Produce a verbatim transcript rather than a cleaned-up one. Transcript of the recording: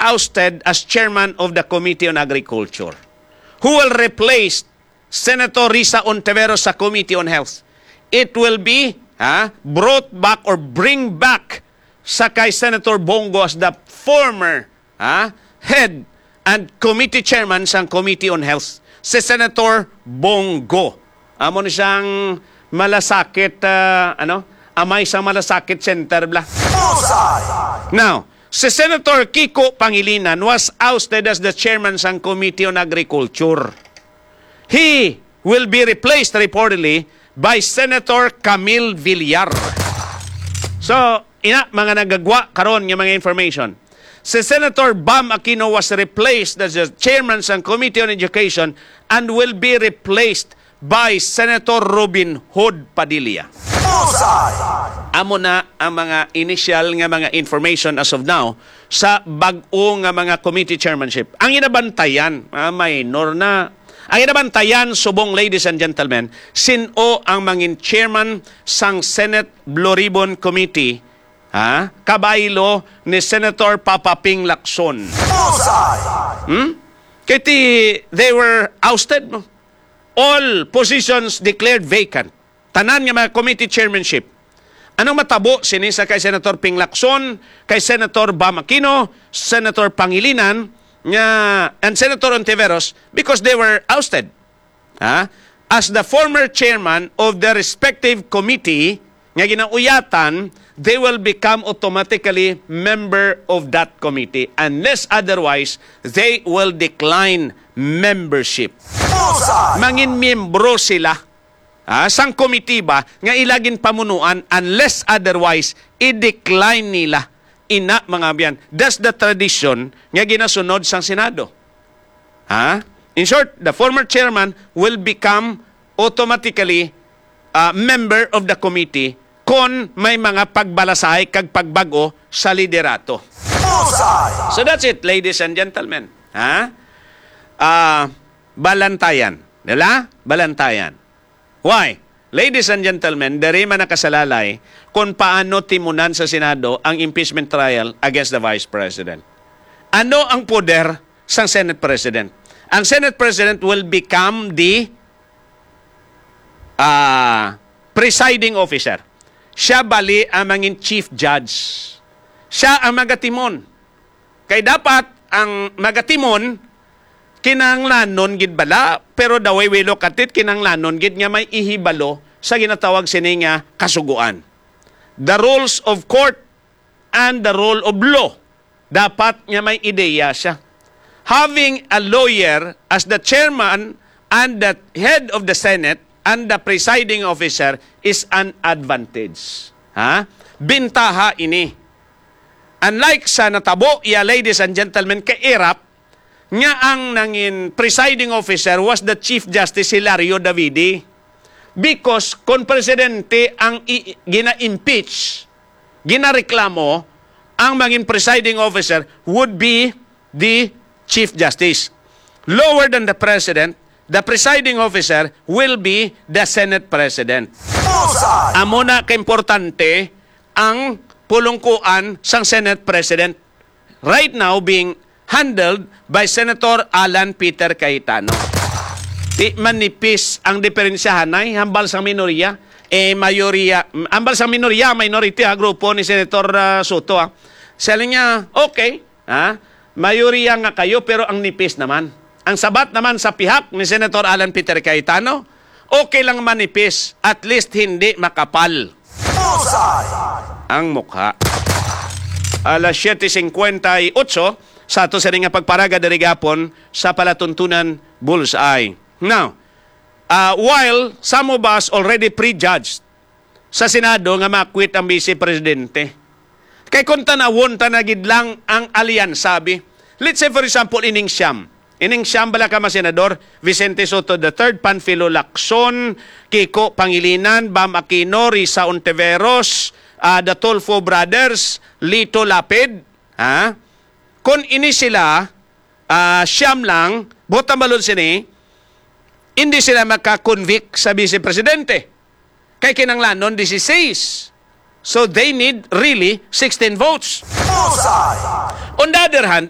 ousted as chairman of the Committee on Agriculture, who will replace Senator Risa Ontiveros sa Committee on Health. It will be, ha, brought back or bring back sa kay Senator Bong Go as the former, ha, head and committee chairman sang Committee on Health, si Senator Bong Go. Amo ni siyang malasakit, ah, ano, amay sang malasakit center bla. Bullseye! Now, si Senator Kiko Pangilinan was ousted as the chairman sang Committee on Agriculture. He will be replaced reportedly by Senator Camille Villar. So, ina, mga nagagwa karon nga mga information. Si Senator Bam Aquino was replaced as the chairman sang Committee on Education and will be replaced by Senator Robin Hood Padilla. Bullseye! Amo na ang mga initial nga mga information as of now sa bag-o nga mga committee chairmanship. Ang inabantayan, ah, minor na. Ang inabantayan, subong, ladies and gentlemen, sin-o ang mangin chairman sang Senate Blue Ribbon Committee, ha? Kabaylo ni Senator Papa Ping Lacson. Bullseye! Hmm? Kay ti, they were ousted, no? All positions declared vacant. Tanan nga mga committee chairmanship. Anong matabo sini sa kay Senator Ping Lacson, kay Senator Bam Aquino, Senator Pangilinan, nga, and Senator Ontiveros? Because they were ousted. Ha? As the former chairman of the respective committee nga ginauyatan, they will become automatically member of that committee. Unless otherwise, they will decline membership. Bullseye! Mangin miyembro sila, ha, sang komitiba nga ila ginpamunuan, unless otherwise, i-decline nila. Ina, mga abyan, that's the tradition nga ginasunod sang Senado. Ha? In short, the former chairman will become automatically, uh, member of the committee kon may mga pagbalasay kag pagbag-o sa liderato. Bullseye! So that's it, ladies and gentlemen. Ha? Ah, balantayan. Dala? Balantayan. Why? Ladies and gentlemen, diri man nakasalalay kung paano timunan sa Senado ang impeachment trial against the Vice President. Ano ang poder sang Senate President? Ang Senate President will become the, ah, presiding officer. Siya bali ang mangin chief judge. Siya ang magatimon. Kay dapat ang magatimon, kinahanglanon gid bala, pero the way we look at it, kinahanglanon gid nga may ihibalo sa ginatawag sini nga kasugoan. The rules of court and the rule of law. Dapat nga may ideya siya. Having a lawyer as the chairman and the head of the Senate and the presiding officer is an advantage. Ha? Bintaha ini. Unlike sa natabo, ya, ladies and gentlemen, kay Erap, nga ang nangin presiding officer was the Chief Justice Hilario Davide. Because kung presidente ang i-, gina-impeach, ginareklamo, ang mangin presiding officer would be the Chief Justice. Lower than the President, the presiding officer will be the Senate President. Bullseye! Amo na kaimportante ang pulungkuan sang Senate President, right now being handled by Senator Alan Peter Cayetano. Di manipis ang diferensyahan ay hambal sang minoriya, eh, mayoriya, hambal sang minoriya, minority, ha, grupo ni Senator, ah, Soto, ha. Siya lang niya, okay, ha? Mayoriya nga kayo, pero ang nipis naman. Ang sabat naman sa pihak ni Senator Alan Peter Cayetano, okay lang manipis, at least hindi makapal. Bullseye! Ang mukha. Alas siete cincuenta y ocho, sa ato sini nga pagparaga diri gapon sa palatuntunan Bullseye. Now, ah, while some of us already prejudged sa Senado nga makwit ang Vice Presidente, kay kung tanawon ta na gid lang ang alyansa, bi, let's say, for example, ining siyam. Ining siyam bala ka mga senador, Vicente Soto the third, Panfilo Lacson, Kiko Pangilinan, Bam Aquino, Risa Ontiveros, ah, the Tulfo Brothers, Lito Lapid, ha? Kung ini sila, ah, siyam lang, buot ang balon sini, hindi sila maka-convict sa Vice Presidente. Kay kinanglanon dieciséis. So they need really sixteen votes. Bullseye! On the other hand,